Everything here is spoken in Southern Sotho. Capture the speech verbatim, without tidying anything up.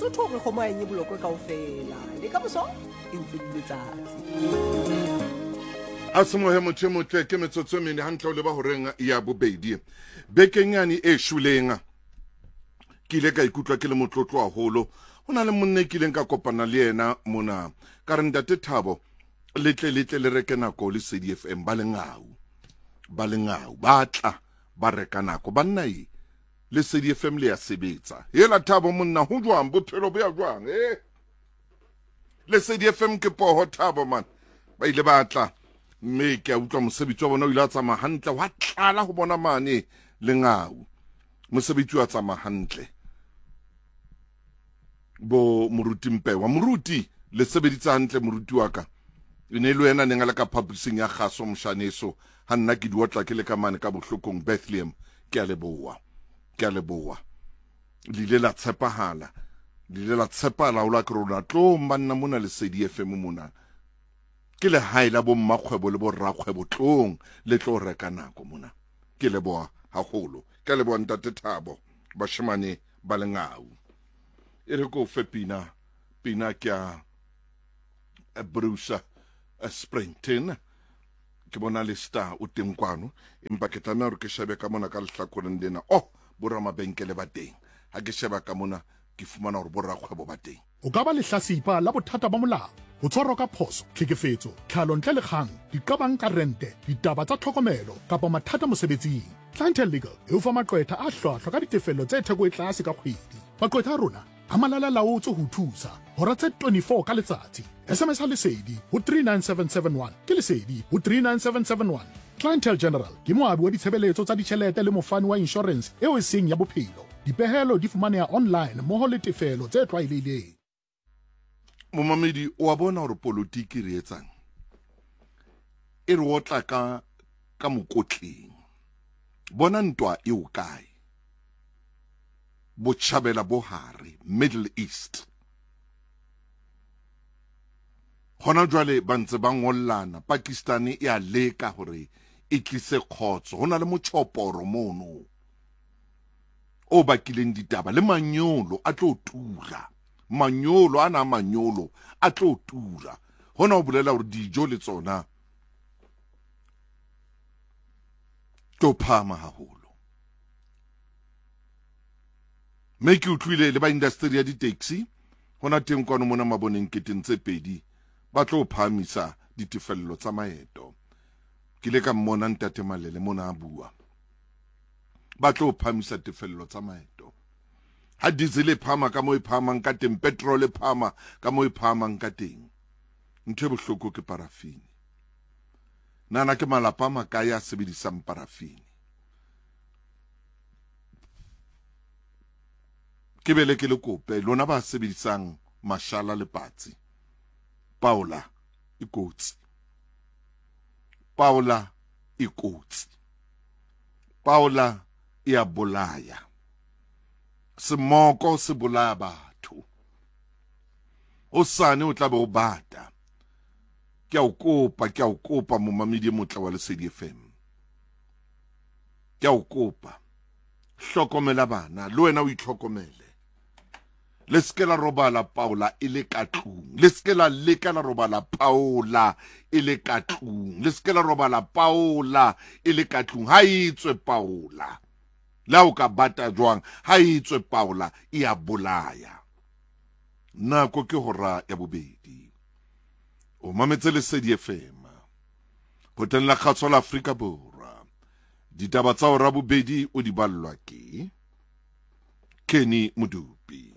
Mosotho o re kgomo ha e nye bolokwe kaofela. Le ka moso e ntse le letsatsi. A semohe motho e motle, ke metsotso e mene hantle o leba horeng ya bobedi. Bekeng yane e shweleng ke ile ka ikutlwa ke le motlotlo haholo. Ho na le monna e kileng ka kopana le yena mona, ka re ntate Thabo, le tle le tle le reke nako le Lesedi F M. Ba lengau, ba lengau ba tla ba reka nako. Banna e Lesedi F M le ya sebetsa. Hela Thabo monna, ho jwang bophelo bo ya jwang? Eh, Lesedi F M ke poho Thabo man. Ba ile ba tla mme ke a utlwa mosebetsi wa bona o ile a tsamaya hantle, wa tlala ho bona mane lengau. Mosebetsi wa tsamaya hantle. Bo moruti Mpewa, moruti le sebeditse hantle moruti wa ka. E ne le wena neng a le ka phaposing ya kgaso moshaneso, ha nna ke di otla ke le ka mane ka bohlokong Bethlehem. Ke a leboha, ke a leboha. Le ile la tshepahala, le ile la tshepahala haholo ha ke rona tlong banna mona Lesedi F M mona. Ke lehae la bo mmakgwebo le bo rakgwebo, tlong le tlo reka nako mona. Ke leboha haholo, ke a leboha ntate Thabo, bashemane ba lengau. E re ko fe pina, pina ke ya Bruce Springsteen. Ke bona le star o teng kwano, empa ke tlameha hore ke shebe ka mona ka lehlakoreng lena. Oh, bo ramabenkele ba teng. Ha ke sheba ka mona ke fumana hore bo rakgwebo ba teng. O ka ba lehlasipa la bothata ba molao, ho tshwarwa ka phoso, tlhekefetso, tlhalo ntle le kgang, diqabang ka rente, ditaba tsa tlhokomelo kapa mathata mosebetsing. Clientele Legal e o fa maqwetha a hlwahlwa ka ditefello tse theko e tlase ka kgwedi. Maqwetha a rona a malala laotswe ho thusa hora tse twenty-four ka letsatsi. S M S a Lesedi ho three nine seven seven one, ke Lesedi ho three nine seven seven one. Clientele General ke moabi wa ditshebeletso tsa ditjhelete le mofani wa insurance eo e seng ya bophelo. Dipehelo di fumaneha online mmoho le tefelo tse tlwaelehileng. Momamedi, o a bona hore politiki re etsang e re otla ka, ka mokotleng. Bona ntwa e o kae? Botjhabela bo hare, Middle East. Hona jwale ba ntse ba ngollana, Pakistan e a leka hore e tlise kgotso. Ho na le motjhoporo mono o bakileng ditaba, le manyolo a tlo tura. Manyolo ana manyolo a tlo tura. Hona ho bolela hore dijo le tsona tlo phahama haholo. Mme ke utlwile le ba industry ya di-taxi hona teng kwano mona maboneng keteng tse pedi ba tlo phahamisa ditefello tsa maeto. Ke ile ka mmona ntate Malele mona a bua. Ba tlo phahamisa tefello tsa maeto. Ha diesel e phahama ka moo e phahamang ka teng, petrol e phahama ka moo e phahamang ka teng. Ntho e bohloko ke parafini. Nana ke malapa a makae a sebedisang parafini? Ke bele ke le kope lona ba sebedisang mashala le patsi. Paola e kotsi. Paola e kotsi. Paola e a bolaya. Semoko se bolaya batho. Hosane o tla be o bata. Ke a o kopa, ke a o kopa momamedi e motle wa Lesedi F M. Ke a o kopa. Hlokomela bana, le wena o itlhokomele. Le se ke la robala Paola e le ka tlung. Le se ke la leka la robala Paola e le ka tlung. Le se ke la robala Paola e le ka tlung. Ha e tswe Paola. Le ha o ka bata jwang, ha e tswe Paola e a bolaya. Nako ke hora ya bobedi. O mametse Lesedi F M. Kgoteng la Kgaso la Afrika Borwa. Ditaba tsa hora bobedi o di ballwa ke Kenny Modupi.